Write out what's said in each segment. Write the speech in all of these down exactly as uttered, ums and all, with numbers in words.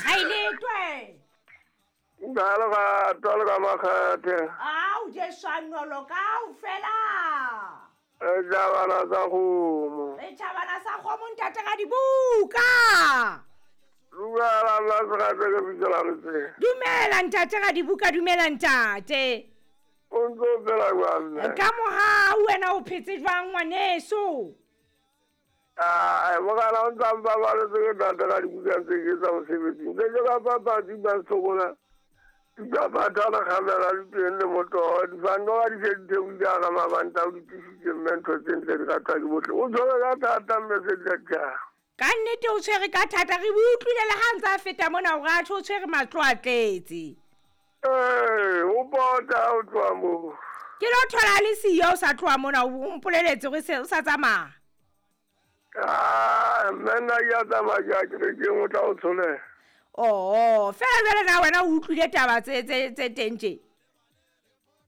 Haeletwe. Ngalo ka tolo ka makgathe. Au jesanolo ka ufela. E jabana sa kgomo. E jabana sa kgomo ntate ga dibuka. Dumela la se ke bitsa le. Dumela ntate ga dibuka, dumela ntate. O ntse o phela jwang? Ka mohau wena o phetse jwang ngwaneso? Ah, mogala o ntsa ba ba le tse ntate ga dibuka tse ke tsa mosebetsing. Tse ke ka papadi ba sokola. Di ba tala khamela di teng le moto, di fano ga di se di theoile ka mabanta o di tlisitse mme ntho tse ntle di ratwa ke bohle. O tshwere ka thata mme se di tla. Ka nnete o tshwere ka thata, re utlwile le ha ntse a feta mona o ratho o tshwere matlo a tletse. Eh, o bota o tloha moo. Ke lo thola le siyo o sa tloha mona o mpoleletse hore se o sa tsamaya. Ah, mme nna ke a tsamaya ke a kerekeng o tla o tsholela. Oh, fela jwale na wena o utlwile taba tse tse tse teng tje?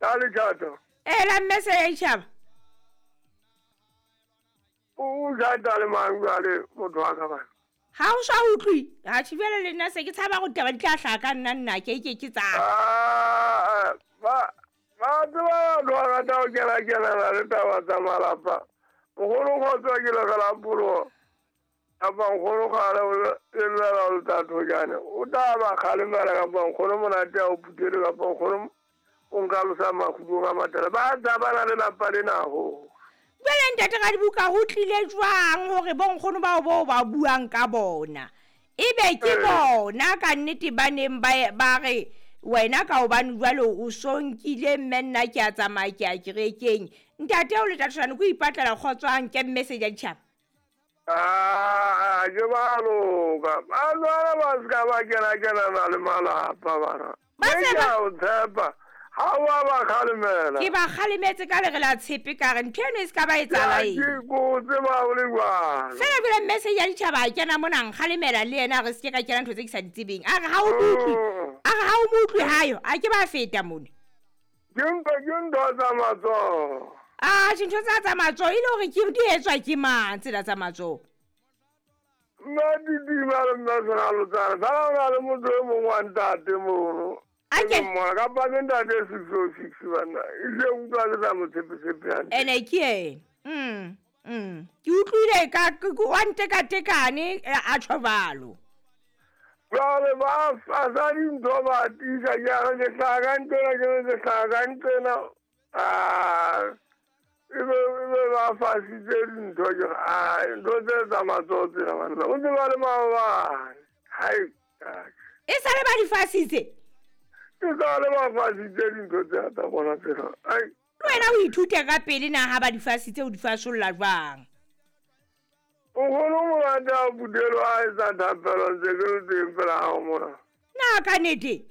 Ka letjhato. Eh, la mme se ya itjhaba. O jata le mang jwale motho wa ka bana? Ha o sa utlwi, ha tjhe le nna se ke tshaba go taba di tla hlaha ka nna nna ke ke ke tsa. Ah, ba ba tseba ba rata ho kena kena le taba tsa malapa. Mogolo kgotsa ke le la polo. Kapa nkgono kgale o llela o tatho jane. O tla ba kgalemela kapa nkgono monate a o phuthele kapa nkgono o nka losa makhudung a matala. Ba tsabana le lapa lena ho. Jwale ntate ga dibuka ho tlile jwang hore bo nkgono bao bo ba buang ka bona? Ebe ke bona ka nnete ba neng ba ba re wena ka hobane jwale o so nkile mme nna ke a tsamaya ke a kerekeng. Ntate o le tatshwane ko ipatlela kgotso a nke message ya ditjhaba. Ah, ke ba loka. Ba jwale ba ska ba kena kena na le malapa bana. Ba se ba o tshepa. Ha wa ba kgalemela. Ke ba kgalemetse ka lere la tshepe ka re ntho eno e se ka ba etsahala eng. Ke ko tseba o le jwang. Fela jwale message ya ditjhaba a kena mona nkgalemela le yena re se ke ka kena ntho tse ke sa di tsebeng. A re ha o utlwe. A re ha o mo utlwe hayo, a ke ba feta mone. Ke ntho ke ntho tsa matsoho. Ah, dintho tsa tsa matsoho e le hore ke di etswa ke mang tsela tsa matsoho? Nna didima le nna sena lotsana. Fela o na le motho e mongwe wa ntate mono. Ake mona ka pa ke ntate six oh six bana. E se utlwa le sa mo tshepe-tshepe hantle. Ene ke ena. Mm. Mm. Ke utlwile ka wa ntekatekane a tjho jwalo. Jwale ba fasa dintho ba tiisa ke a re ke hlaha ka ntlena ke re ke hlaha ka ntlena. Ah. Ebe ebe ba fasitse dintho ke ah ntho tse tsa matsoho tsena banna. O tseba le maobane. Hai. E sale ba di fasitse. Ke sale ba fasitse dintho tse tsa bona tsena. Ai. Wena o ithute ka pele na ha ba di fasitse o di fasolla jwang? Nkgono monate a phuthelo a etsa thapelo ntse ke le teng pela hao mona. Na ka nnete?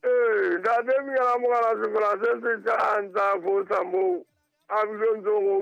Ee, ntate Miyala mogala sefela se setjha a ntsa fosa moo. A bile ntse go